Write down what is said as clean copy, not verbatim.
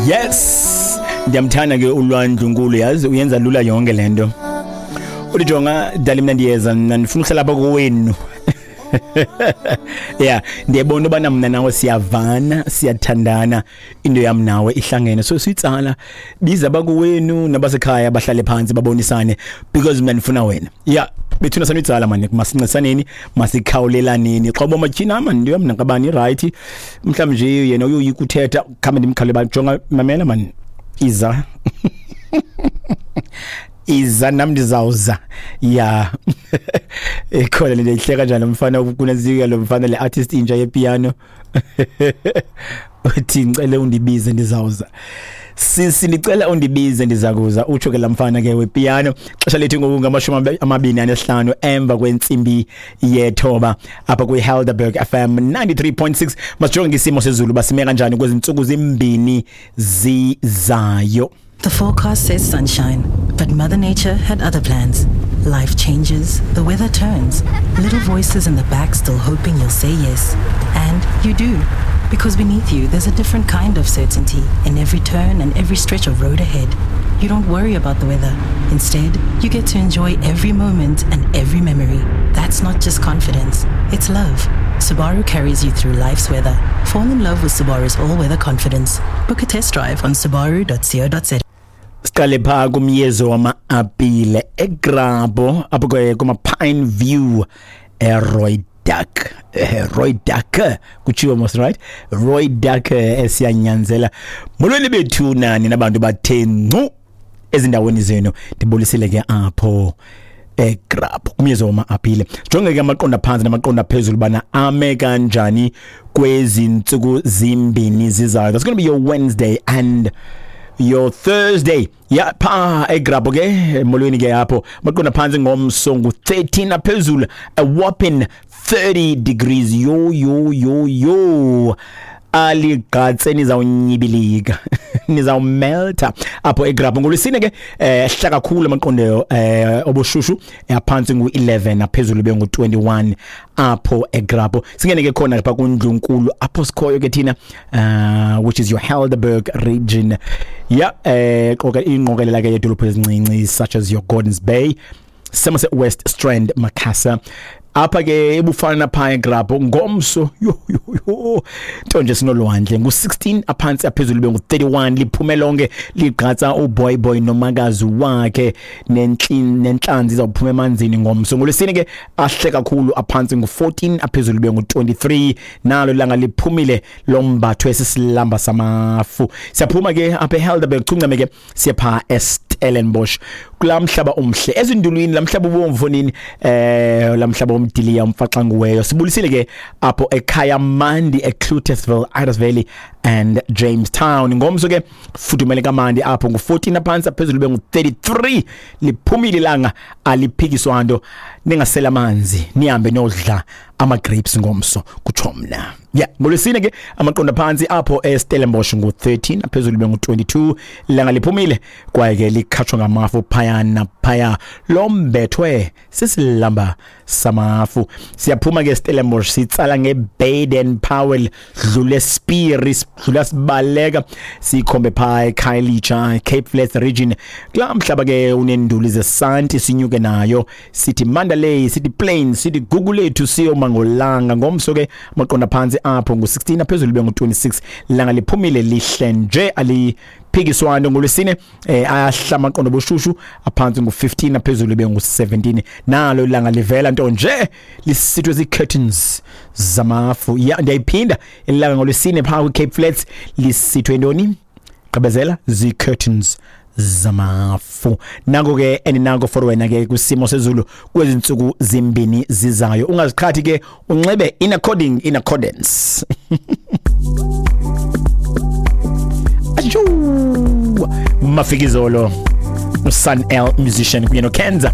Yes, ndiyamthanda ke uLwandlunkulu, yazi uyenza lula yonke le nto. Uthi jonga dali, mna ndiyeza, mna ndifuna uhlala apha kowenu. Yeah, ndiyabona ubana mna nawe siyavana, siyathandana, into yam nawe ihlangene, so siyitsala, biza abakowenu nabasekhaya bahlale phantsi babonisane because mna ndifuna wena. Yeah, bethuna sanuyitsala mani, masincedisaneni, masikhawulelaneni. Xa uba matyhina mani, into yam nakabani irayithi, mhlawumbi nje yena uyoyika uthetha, khambe ndimkhawule ba jonga, mamela mani, iza iza nam ndizawuza. Ya, ikhona le nto ihleka njani lo mfana kunazika lo mfana le artist intsha yepiano uthi ngicela undibize ndizawuza. Sisi, ndicela undibize ndiza kuza, utsho ke laa mfana ke wepiano. Xesha lethu ngoku ngama-25 emva kwentsimbi yethoba apha kwiHelderberg FM 93.6. Masijonge isimo sezulu basime kanjani kwezi ntsuku zimbini zizayo. The forecast says sunshine, but Mother Nature had other plans. Life changes, the weather turns, little voices in the back still hoping you'll say yes. And you do. Because beneath you, there's a different kind of certainty in every turn and every stretch of road ahead. You don't worry about the weather. Instead, you get to enjoy every moment and every memory. That's not just confidence, it's love. Subaru carries you through life's weather. Fall in love with Subaru's all weather confidence. Book a test drive on subaru.co.za. Siqale phaa kumyezo wama-apile eGrabho apho ke kuma-Pine View eRoy Duck, Roy Duck kutshiwo mos, right? Roy Duck esiyanyanzela. Molweni bethu nani nabantu bathe ncu ezindaweni zenu, ndibulisile ke apho eGrabho kumyezo wama-apile. Jonge ke amaqonda phantsi namaqonda phezulu bana ame kanjani kwezi ntsuku zimbini zizayo. That's going to be your Wednesday and your Thursday. Ya, pha eGrabho ke, molweni ke apho, maqonda phantsi ngomso ngu-13, aphezulu a whopping 30 degrees. Yo yo yo yo, aligqatse, nizawunyibilika, nizawumelta apho eGrabho. Ngolwesine ke ehla kakhulu amaqondo obushushu, aphantsi ngu-11, aphezulu bengu-21 apho eGrabho. Singene ke khona lapha kundlunkulu apho sikhoyo ke thina, which is your Helderberg region. Ya, qoka ingqokelela ke yedolophu ezincinci such as your Gordons Bay, Somerset West, Strand, Macassar. Apha ke ebufana phaa eGrabho ngomso, yo yo yo, nto nje sinolwandle, ngu-16 aphantsi, aphezulu bengu-31. Liphume lonke ligqatsa uboy boy nomakazi wakhe nentlanzi izawuphuma emanzini ngomso. Ngolwesine ke ahle kakhulu, aphantsi ngu-14, aphezulu bengu-23. Nalo ilanga liphumile, lombathwe sisilamba samafu. Siyaphuma ke apha eHelderberg, chuncame ke siye phaa eStellenbosch kulaa mhlaba umhle ezindulwini, laa mhlaba ubomvu nini, laa mhlaba womdiliya umfaxanguweyo. Sibulisile ke apho ekhaya mandi eCloetesville, Idas Valley and Jamestown. Ngomso ke fudumele kamandi apho, ngu-14 aphantsi, aphezulu bengu-33. Liphumile ilanga, aliphikiswa nto, ningasela amanzi, nihambe nodla ama-grapes ngomso, kutsho mna. Ya, ngolwesine ke amaqonda phantsi apho eStellenbosch ngu-13, aphezulu bengu-22. Ilanga liphumile kwaye ke likhatshwa ngamafu phaya naphaya, lombethwe sisilamba samafu. Siyaphuma ke Stellenbosch, sitsala ngeBaden Powell, dlule Spier, sidlula sibaleka sikhombe phaa eKhayelitsha, Cape Flats region, kulaa mhlaba ke unenduli zesanti. Sinyuke nayo sithi Mandalay, sithi Plains, sithi Gugulethu, siyoma ngolanga. Ngomso ke amaqonda phantsi apho ngu-16, aphezulu bengu-26. Langa liphumile, lihle nje, aliphikiswano. Ngolwesine ayahla amaqondo boshushu, aphantsi ngu-15, aphezulu bengu-17. Nalo ilanga livela nto nje lisithwe zii-curtains zamafu. Ya, ndiyayiphinda, ilanga ngolwesine phaa kwi-Cape Flats lisithwe ntoni? Gqibezela, zii-curtains zamafu. Nako ke endinako for wena ke kwisimo sezulu kwezi ntsuku zimbini zizayo. Ungaziqhathi ke, unxibe in accordance. Atshu Mafikizolo, uSun El Musician kunye noKenza.